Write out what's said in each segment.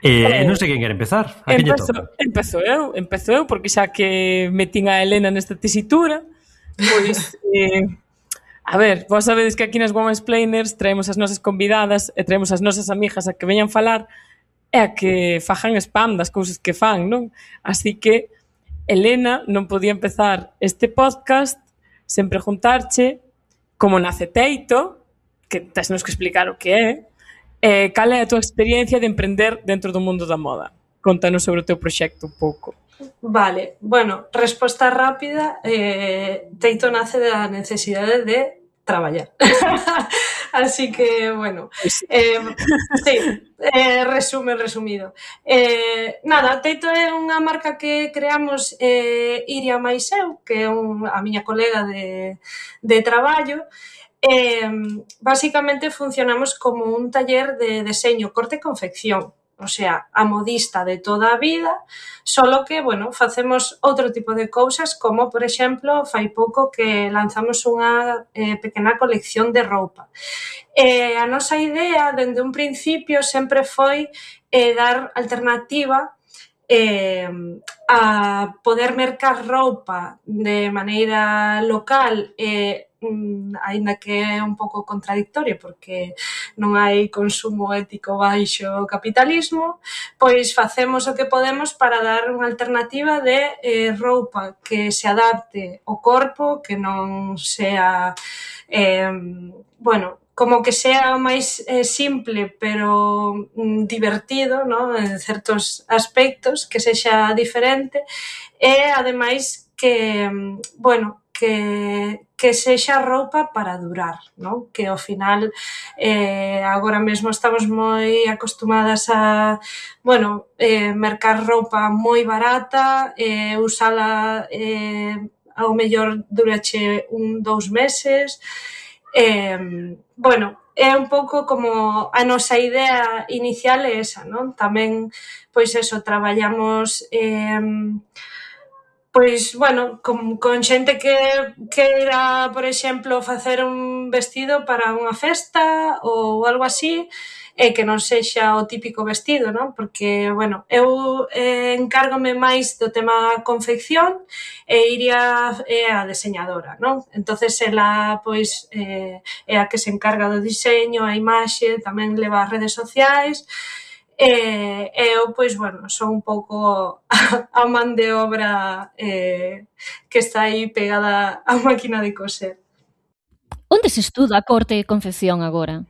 Non sei quen quere empezar. A quen lle toca? Empezo eu, porque xa que metín a Elena nesta tesitura, pois, a ver, vos sabedes que aquí nas Womansplainers traemos as nosas convidadas e traemos as nosas amigas a que veñan falar e a que fajan spam das cousas que fan, non? Así que Elena non podía empezar este podcast sen preguntarche como nace Teito, que tesnos que explicar o que é, cal é a túa experiencia de emprender dentro do mundo da moda? Contanos sobre o teu proxecto un pouco. Vale, bueno, resposta rápida, Teito nace da necesidade de traballar. Así que, bueno, sí, resumido. Nada, Teito é unha marca que creamos Iria máis eu, que é a miña colega de traballo. Básicamente funcionamos como un taller de deseño, corte e confección, o sea, a modista de toda a vida, solo que, bueno, facemos outro tipo de cousas, como, por exemplo, fai pouco que lanzamos unha pequena colección de roupa. A nosa idea, dende un principio, sempre foi dar alternativa a poder mercar roupa de maneira local aínda que é un pouco contradictorio porque non hai consumo ético baixo o capitalismo, pois facemos o que podemos para dar unha alternativa de roupa que se adapte ao corpo, que non sea bueno, como que sea máis simple pero divertido, ¿no? En certos aspectos, que sexa diferente e ademais que, bueno, que sexa roupa para durar, ¿no? Que ao final agora mesmo estamos moi acostumadas a, bueno, mercar roupa moi barata, usala ao mellor durache 2 meses. Bueno, é un pouco como a nosa idea inicial é esa, non? Tamén, pois eso, traballamos pois, bueno, con xente que queira, por exemplo, facer un vestido para unha festa ou algo así, e que non sexa o típico vestido, non? Porque, bueno, eu encárgome máis do tema confección e Iria é a deseñadora, non? Entonces, ela, pois, é a que se encarga do diseño, a imaxe, tamén leva as redes sociais. Eu, pois, bueno, son un pouco a man de obra que está aí pegada á máquina de coser. Onde se estuda a corte e confección agora?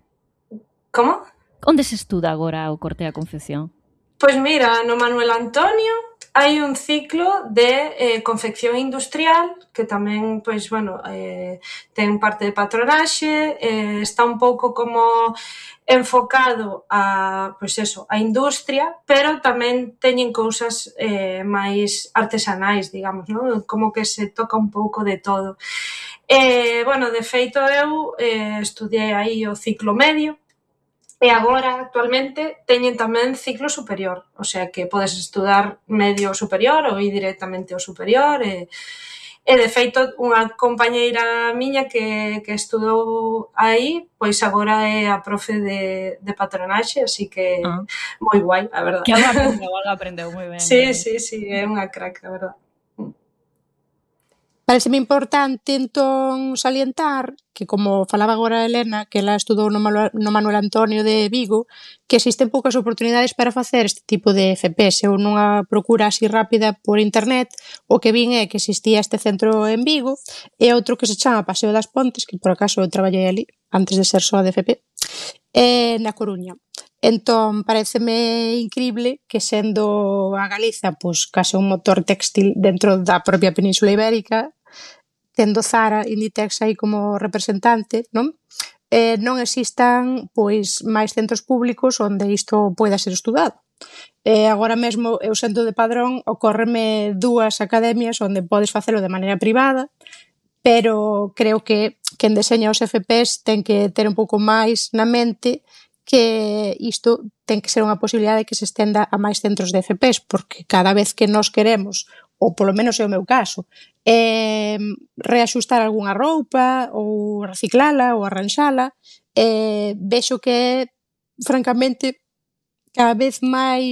Como? Onde se estuda agora o corte e a confección? Pois mira, no Manuel Antonio hai un ciclo de confección industrial que tamén, pois, bueno, ten parte de patronaxe, está un pouco como enfocado a, pois eso, a industria, pero tamén teñen cousas máis artesanais, digamos, non? Como que se toca un pouco de todo. Bueno, de feito, eu estudiei aí o ciclo medio, e agora, actualmente, teñen tamén ciclo superior, o sea que podes estudar medio superior ou ir directamente ao superior e de feito unha compañeira miña que estudou aí, pois agora é a profe de patronaxe, así que moi guai, a verdade. Que algo aprendeu moi ben. Sí, é unha crack, a verdade. Pareceme importante, entón, salientar que, como falaba agora Elena, que ela estudou no Manuel Antonio de Vigo, que existen poucas oportunidades para facer este tipo de FPs. Eu nunha procura así rápida por internet, o que vin é que existía este centro en Vigo e outro que se chama Paseo das Pontes, que por acaso eu traballei ali, antes de ser só de FP, na Coruña. Entón, pareceme incrible que sendo a Galiza, pois, case un motor textil dentro da propia Península Ibérica, tendo Zara, Inditex aí como representante, non? Non existan, pois, máis centros públicos onde isto poida ser estudado. Agora mesmo, eu sendo de Padrón, ocórreme 2 academias onde podes facelo de maneira privada, pero creo que quen deseña os FPs ten que ter un pouco máis na mente que isto ten que ser unha posibilidade que se estenda a máis centros de FPs, porque cada vez que nos queremos, ou polo menos é o meu caso, reaxustar algunha roupa, ou reciclala, ou arranxala, vexo que, francamente, cada vez máis